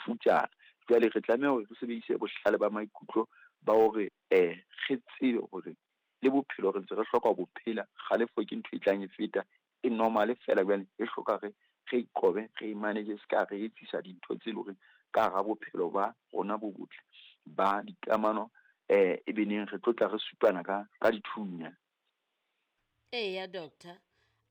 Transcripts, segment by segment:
Bofutsana. Jwale re tlameha hore re sebedise bohlale ba maikutlo ba hore re tsebe hore le bophelo re ntse re hloka ho bo phela. Kgalefo ke ntho e tlang e feta, e normal feela jwale e hloka re re qobe, re manage ska re etsisa dintho tse leng hore ka hara bophelo ba rona bo botle ba dikamano, e be neng re tlo tla re supana ka dithunya. Eya, doctor.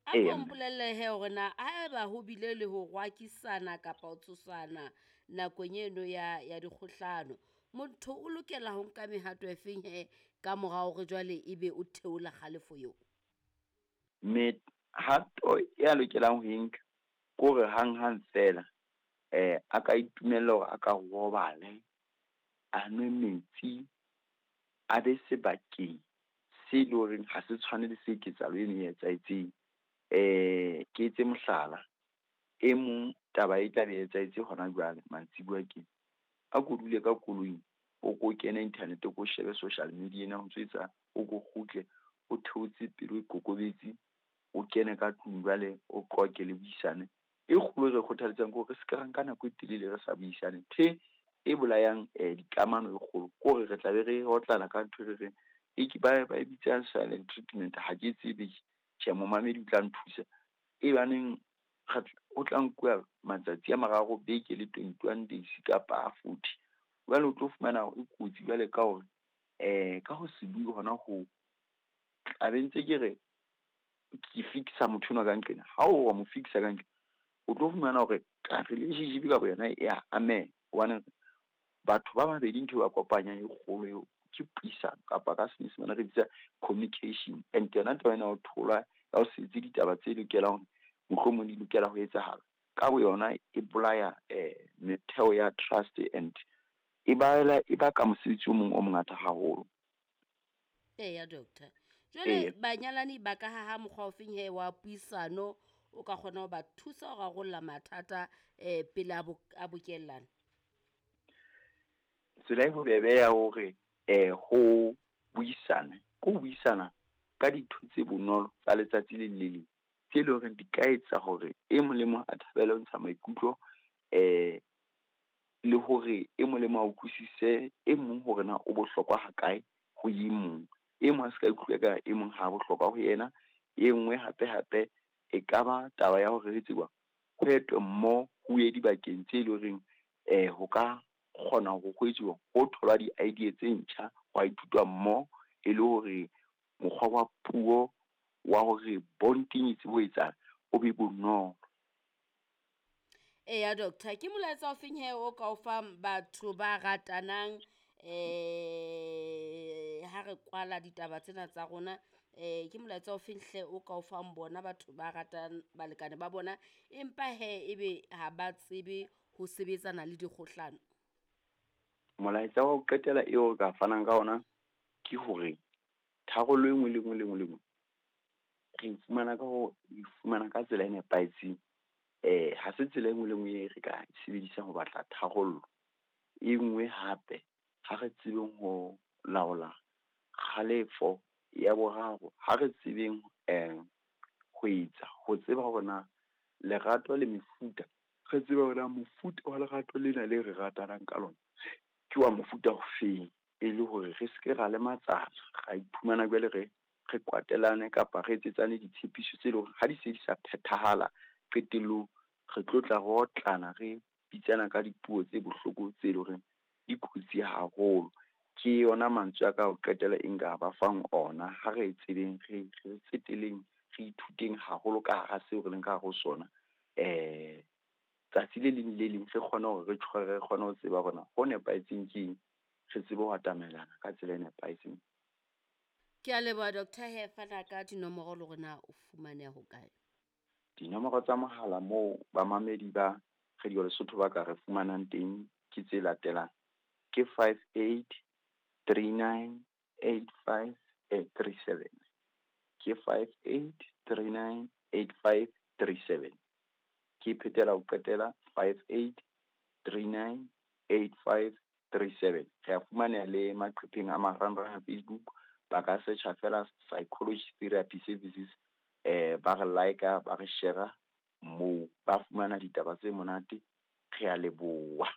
A ko mpolelle he hore na haeba ho bile le ho rwakisana kapa ho tshosana nakong eno ya dikgohlano, motho o lokela ho nka mehato e feng he ka mora hore jwale ebe o theola kgalefo eo? Mehato ya lokelang ho e nka ke hore hanghang feela a ka itumella hore a ka robale, a nwe metsi, a be sebakeng se leng horeng ha se tshwane le se ketsahalo eno e etsahetseng. Ke etse mohlala, e mong taba e tla be e etsahetse hona jwale mantsibuya tje. A ko dule ka koloing, o ko kene internet, o ko shebe social media ena ho ntso etsa, o ko kgutle o theotse pelo, o ikokobetse, o kene ka tlung jwale o qoqe le buisane. E kgolo e re kgothaletsang ke hore re ska ra nka nako e telele re sa buisane. Ntho e bolayang dikamano e kgolo ke hore re tla be re otlana ka ntho e re reng e ke ba e bitsang silent treatment, ha ke tsebe. Tjhe, momamedi o tla nthusa. E baneng ho tla nkuwa matsatsi a mararo, beke le 21 days kapa a 40. Jwale o tlo fumana e kotsi jwale ka hore ka ho se bue hona hoo, tla be ntse ke re ke fix-a motho enwa ka nqena. Ha o wa mo fix-a ka nqena, o tlo fumana hore ka relationship ka boyona e ya ameha. Hobane batho ba babedi ntho e ba kopanyang e kgolo eo ke puisano, kapa ka senyesemane re bitsa communication. And yona taba ena ya ho thola, ya ho se etse ditaba tse lokelang mohlomong di lokela ho etsahala, ka boyona e bolaya metheo ya trust and e baela e baka mosebetsi o mong o mongata haholo. Eya, doctor. Jwale banyalani ba ka haha mokgwa ofeng he wa puisano o ka kgona ho ba thusa ho rarolla mathata pele a bokellana? Tsela e bobebe ya hore ho buisane, ke ho buisana ka dintho tse bonolo tsa letsatsi le le leng, tse leng hore di ka etsa hore e mong le mong a thabele ho ntsha maikutlo, le hore e mong le mong a utlwisise e mong hore na o bohlokwa ha kae ho e mong. E mong a ska ikutlwa ka e mong ha bohlokwa ho yena. E nngwe hape hape e ka ba taba ya hore re tseba ho etwe mmoho, ho ye dibakeng tse leng horeng ho ka kgona hore ho etsuwa, ho tholwa di-idea tse ntjha, hwa ithutwa mmoho e le hore mokgwa wa puo wa hore bonding e tsebe ho etsahala, o be bonolo. Eya, doctor, ke molaetsa o feng he o ka o fang batho ba ratanang ha re kwala ditaba tsena tsa rona, ke molaetsa o feng hle o ka o fang bona batho ba ratang balekane ba bona, empa he ebe ha ba tsebe ho sebetsana le dikgohlano? Molaetsa wa ho qetela eo re ka fanang ka ona ke hore tharollo e nngwe le nngwe le nngwe le nngwe re e fumana ka ho e fumana ka tsela e nepahetseng. Ha se tsela e nngwe le nngwe e re ka e sebedisang ho batla tharollo. E nngwe hape, ha re tsebeng ho laola kgalefo. Ya boraro, ha re tsebeng ho etsa, ho tseba hore na lerato le mefuta, re tsebe hore na mofuta wa lerato lena le re ratanang ka lona ke wa mofuta ofeng, e le hore re seke ra lematsana, ra iphumana jwale re kwatelane kapa re etsetsane ditshepiso tse leng hore ha di se di sa phethahala qetellong, re tlo tla re otlana, re bitsana ka dipuo tse bohloko tse leng hore di kotsi haholo. Ke yona mantswe a ka ho qetela e nka ba fang ona. Ha re tsebeng, re tseteleng, re ithuteng haholo ka hara seo re leng ka hare ho sona. Tsatsi le leng le leng re kgone hore re tjhore, re kgone ho tseba hore na ho nepahetseng ke eng, re tsebe ho atamelana ka tsela e nepahetseng. Ke a leboha, Doctor. He fana ka dinomoro le hore na o fumaneha hokae. Dinomoro tsa mohala moo bamamedi ba Radio Lesotho ba ka re fumanang teng ke tse latelang. Ke 58 39 85 37. Ke 58 39 85 37. Ke phetela ho qetela 58 39 85 37. Re a fumaneha le maqepheng a marangrang a Facebook. Ba ka searcha fela Psychology Therapy Services, ba re like, ba re share moo, ba fumana ditaba tse monate. Re a leboha.